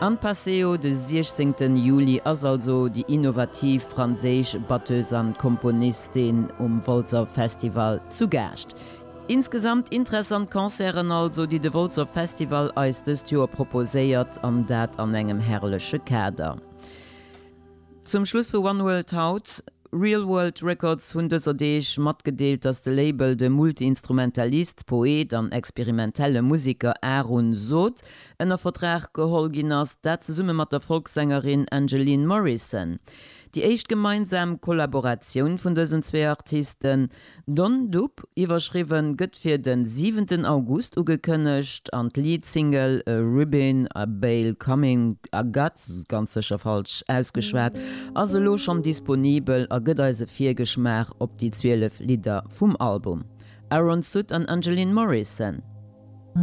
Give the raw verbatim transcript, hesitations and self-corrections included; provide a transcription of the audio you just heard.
Am Paseo de siechzéngten Juli ass also déi innovativ franséisch Batteuse an Komponistin um Wolzer Festival zu Gaascht. Insgesamt interessant Concerten also, déi de Wolzer Festival eis dëst Joer proposéiert, an dat an engem herrleche Kader. Zum Schluss vu One World haut, Real World Records hunn dëser Deeg matgedeelt, dass de Label de Multi-Instrumentalist, Poet an experimentelle Museker Aaron Sood ënner Vertrag geholl ginn ass, dat zesumme mat der Folksängerin Angeline Morrison. Déi éischt gemeinsam Kollaboratioun vun dësen zwee Artisten, Don Dub iwwerschriwwen, gëtt fir de siwenten August ugekënnegt an d'Lead-Single Ribin a Bale Coming a Gut, ganz sécher falsch ausgeschwat, ass elo schonn disponibel a gëtt eis e Virgeschmaach op déi zwielef Lidder vum Album. Aaron Sood an Angeline Morrison.